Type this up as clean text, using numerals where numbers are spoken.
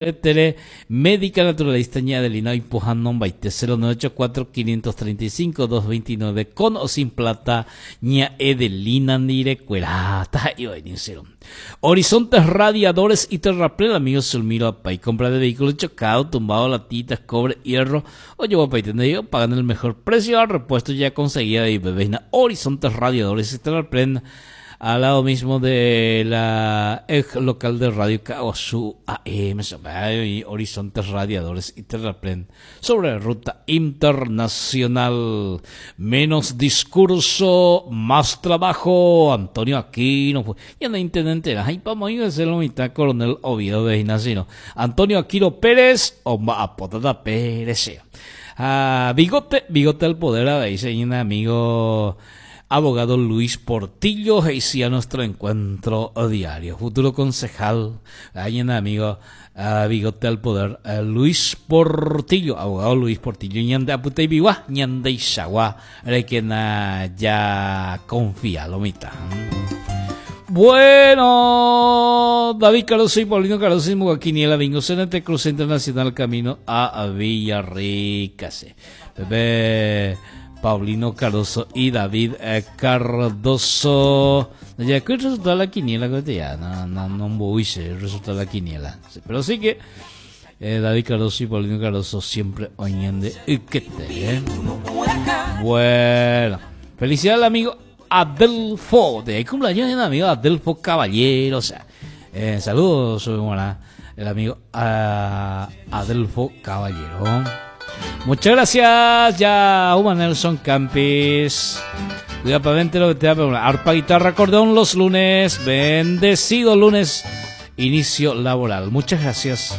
Tere, médica naturalista Ña Adelina oipohãnombaite 0984 535 229 con o sin plata Ña Edelina ndirekuera taha'e. Horizontes Radiadores y Terraplén amigo Zulmiro Apay compra de vehículos chocados, tumbado, latitas, cobre, hierro ojoguapaite ndéi opagan el mejor precio al repuesto ya conseguía de IPV Horizontes Radiadores y Terraplén Al lado mismo de la ex local de Radio Caaguazú AM, y Horizontes Radiadores y Terraplén sobre ruta internacional. Menos discurso, más trabajo. Antonio Aquino, ñane intendente ha ipamoĩ ese lo mitã coronel Oviedo de Ginasino. Antonio Aquino Pérez omba'apóta tape rehe. Ha bigote, bigote al poder avei che ñane amigo Abogado Luis Portillo he'isia nuestro encuentro diario. Futuro concejal, ñane amigo bigote al poder Luis Portillo, abogado Luis Portillo, ñande apyteipigua, ñandeichagua rekena ja confía lo mitã. Bueno, David Cardoso y Paulino Cardoso y Quiniela Bingo CNT Cruce Internacional Camino a Villarrica. Pepe Paulino Cardoso y David eh, Cardoso. Ya que el resultado de la quiniela, ya, no, no, no voy el resultado de la quiniela. Pero sí que eh, David Cardoso y Paulino Cardoso siempre oyen de Iquete. Eh. Bueno, felicidades al amigo Adelfo. De ahí cumpleaños el amigo Adelfo Caballero. O sea, eh, saludos, el amigo ah, Adelfo Caballero. Muchas gracias, ya Uma Nelson Campis. Cuida pa' lo que te da arpa, guitarra, acordeón los lunes. Bendecido lunes, inicio laboral. Muchas gracias.